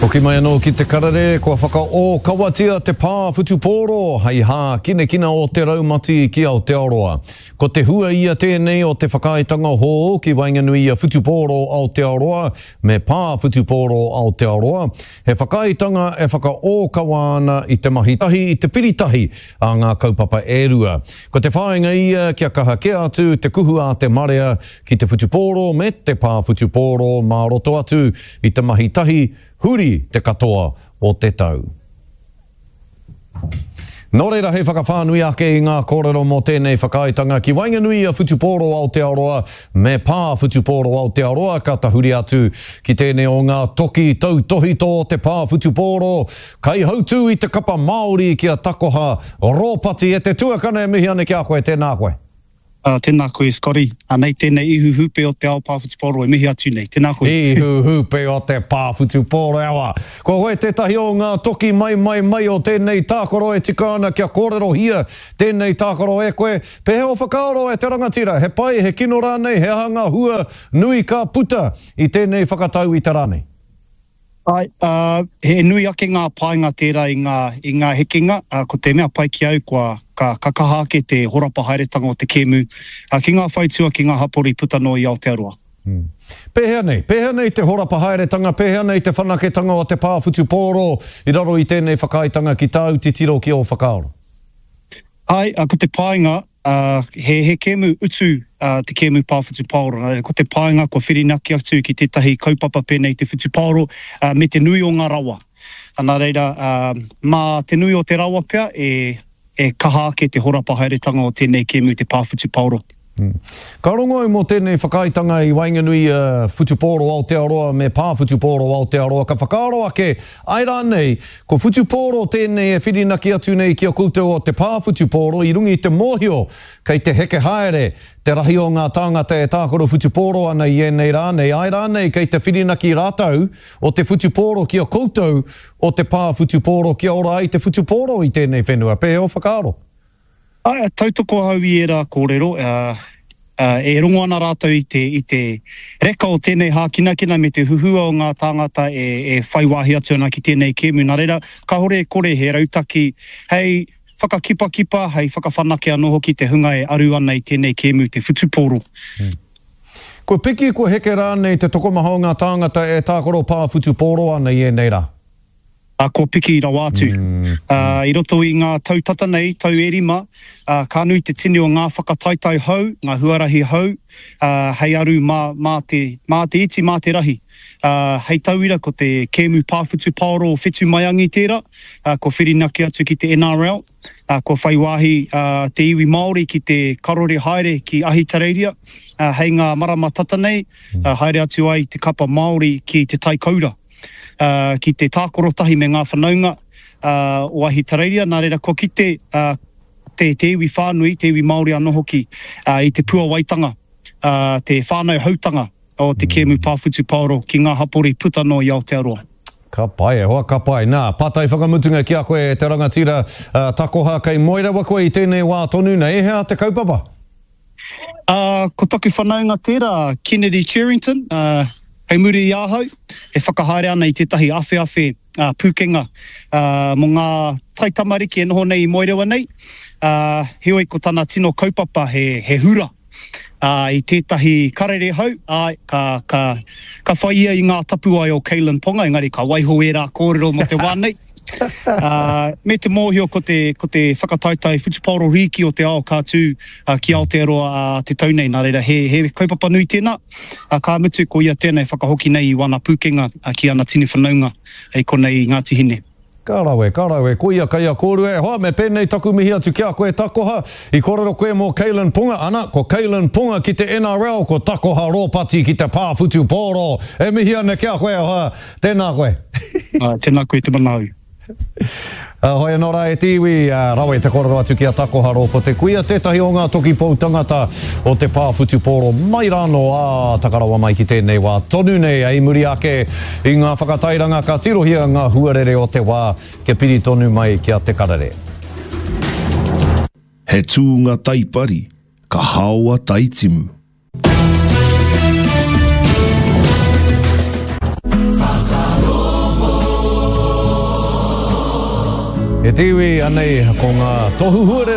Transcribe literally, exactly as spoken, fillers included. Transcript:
Hoki mai anō ki te karere, kua whakaōkawatia te pā whutupōro hei hākinakina o te raumati ki Aotearoa. Ko te hua ia tēnei o te whakaaetanga hou ki waenganui i a Whutupōro Aotearoa me Pā Whutupōro Aotearoa, he whakaaetanga e whakaōkawa ana i te mahi tahi i te piritahi a ngā kaupapa e rua. Ko te whāinga ia kia kaha kē atu te kuhu a te marea ki te whutupōro me te pā whutupōro mā roto atu i te mahi tahi huri te katoa o te tau. Nō reira hei whakawhānui ake i ngā kōrero mō tēnei whakaaetanga ki waenganui i a Whutupōro Aotearoa me Pā Whutupōro Aotearoa ka tahuri atu ki tēnei o ngā toki tautohito o te pā whutupōro, kaihautū i te kapa Māori ki a Takoha Rōpati e te tuakana e mihi ana ki a koe, tēnā koe. Uh, tēnā koe, Scotty. Anei tēnei ihu hūpe o te ao pā whutupōro e mihi atu nei. Tēnā koe. Ihu hūpe o te pā whutupōro e awa. Ko koe tētahi o ngā toki mai mai mai o tēnei tākaro e tika ana kia kōrerohia tēnei tākaro e koe. Pēhea o whakaaro e te rangatira? He pai, he kino rānei, he aha ngā hua nui ka puta i tēnei whakatau i te rā nei? Ai, uh, he nui ake ngā painga tērā i ngā, i ngā hekenga. Uh, ko te mea pai ki au, kua, ka, ka kaha ake te horapa haeretanga o te kēmu uh, ki ngā whaitua, ki ngā hapori puta noa i Aotearoa. Hmm. Pēhea nei? Pēhea nei te horapa haeretanga, pēhea nei te whanaketanga o te pā whutupōro i raro i tēnei whakaaetanga ki tāu titiro ki ō whakaaro? Ai, uh, ko te painga, uh, he, he kēmu utu uh, te kēmu pā whutupāoro. Nā reira, ko te painga kua whirinaki atu ki tētahi kaupapa pēnei te whutupāoro uh, me te nui o ngā rawa. Nā reira, uh, mā te nui o te rawa pea e, e kaha ake te horapa haeretanga o tēnei kēmu te pā whutupāoro. Hmm. Ka rongo au mō tēnei whakaaetanga i waenganui i a Whutupōro Aotearoa me Pā Whutupōro Aotearoa, ka whakaaro ake, āe rānei, ko Whutupōro tēnei e whirinaki atu nei ki a koutou o te Pā Whutupōro i runga i te mōhio kei te heke haere te rahi o ngā tāngata e tākaro whutupōro ana i ēnei rā nei, āe rānei kei te whirinaki rātou o te whutupōro ki a koutou o te Pā Whutupōro kia ora ai te whutupōro i tēnei whenua. Pēhea ō whakaaro? Āe, tautoko ahau i ērā kōrero, e rongo ana rātou i te, i te reka o tēnei hākinakina me te huhua o ngā tāngata e, e whai wāhi atu ana ki tēnei kēmu. Nā reira, kāore e kore he rautaki hei whakakipakipa, hei whakawhanake anō hoki te hunga e aru ana i tēnei kēmu, te whutupōro. Kua piki, kua heke rānei te tokomaha o ngā tāngata e tākaro pā whutupōro ana i ēnei rā? Ā, kua piki rawa atu. Ā, i roto i ngā tau tata nei, tau e rima, ā, ka nui te tini o ngā whakataetae hou, ngā huarahi hou, ā, hei aru mā, mā te, mā te iti, mā te rahi. Ā, hei tauira, ko te kēmu pā whutupaoro o Whetu Maiangi tērā, ā, kua whirinaki atu ki te N R L, ā, kua whai wāhi, ā, te iwi Māori ki te karore haere ki Ahitereiria, ā, hei ngā marama tata nei, ā, haere atu ai te kapa Māori ki Te Tai Koura. Ki te tākaro tahi me ngā whanaunga o Ahitereiria, nā reira kua kite te iwi whānui, te iwi Māori anō hoki, i te puawaitanga, te whānau hautanga o te kēmu pā whutupaoro ki ngā hapori puta noa i Aotearoa. Ka pai e hoa, ka pai. Nā, pātai whakamutunga ki a koe e te rangatira takoha, kei moe rawa koe i tēnei wā tonu nei, he aha te kaupapa? Ā, ko taku whanaunga tērā, Kennedy Cherrington, ā, kei muri i ahau, e whakahaere ana i tētahi awheawhe pūkenga mō ngā taitamariki e noho nei i Moerewa nei, ā, heoi ko tana tino kaupapa he, he hura, ā, i tētahi karere hou, āe, ka, ka, ka whai ia i ngā tapuwae o Kalyn Ponga, engari ka waiho ērā kōrero mō te wā nei. Ā, me te mōhio ko te, ko te whakataetae whutupaoro rīki o te ao ka tū ki Aotearoa ā te tau nei, nā reira he, he kaupapa nui tēnā, ā, ka mutu ko ia tēnā e whakahoki nei i wana pūkenga ki ana tini whanaunga i konei i Ngāti Hine. Ka rawe, ka rawe, koia kei a kōrua e hoa, me pēnei taku mihi atu ki a koe Takoha, i kōrero koe mō Kalyn Ponga, ana, ko Kalyn Ponga ki te N R L, ko Takoha Rōpati ki te pā whutupōro, e mihi ana ki a koe e hoa, tēnā koe. Āe, tēnā koe te manaau. Hoi anō rā e te iwi, rawe te kōrero atu ki a Takoha Rōpati, koia tētahi o ngā toki pou tangata o te pā whutupōro mai rānō ā taka rawa mai ki tēnei wā tonu nei, i muri ake i ngā whakatairanga ka tirohia ngā huarere o te wā kia piri tonu mai ki a Te Karere. He tūnga taipari, ka haoa taitimu. E te iwi, anei ko ngā tohu huarere.